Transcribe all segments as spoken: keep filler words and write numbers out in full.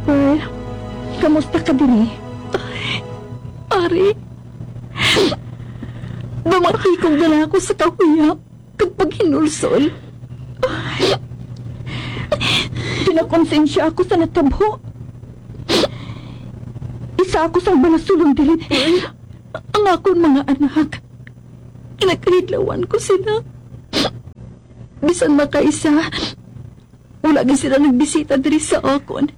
Pearl, kamusta ka diri? Ari, dumapi kong dala ko sa kahuyap kag paghinulsol. Pinakonsensya ako sa natabo. Isa ako sang balasulon diri, Pearl. Ang akon mga anak, kinakahidlawan ko sila. Bisan makaisa, wala gid sila nagbisita diri sa akon.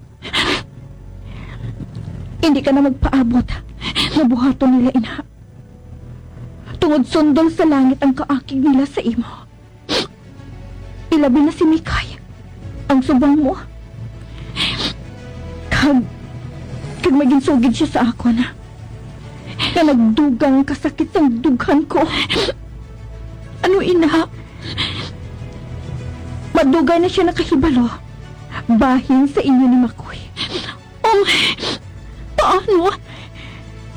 Hindi ka na magpaabot nga buhaton nila ina. Tungod sundol sa langit ang kaakig nila sa imo. Ilabi na si Mikay, ang subong mo. Kag, kag may ginsugid siya sa akon nga nagdugang kasakit sang dughan ko. Ano ina? Madugay na siya nakahibalo bahin sa inyo ni Makoy. Um, paano?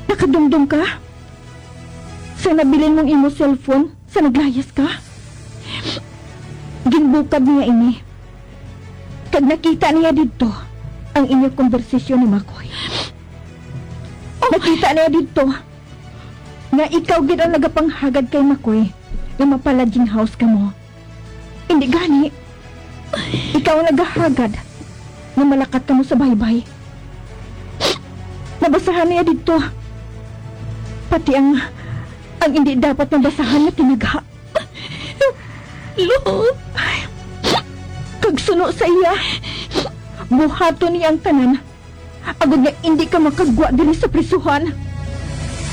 Nakadumdom ka? Sa nabilin mong imo cellphone sa naglayas ka? Ginbukab niya ini. Kag nakita niya didto ang inyo konbersasyon ni Makoy. Nakita niya didto nga ikaw gid ang nagapanghagad kay Makoy nga mapa-lodging house kamo. Hindi gani, ikaw ang nagahagad nga malakat kamo sa baybay. Nabasahan niya didto pati ang, ang hindi dapat mabasahan nga tinagha. Lo! Kag suno sa iya, buhaton niya ang tanan, agod nga indi ka makagwa diri sa prisuhan.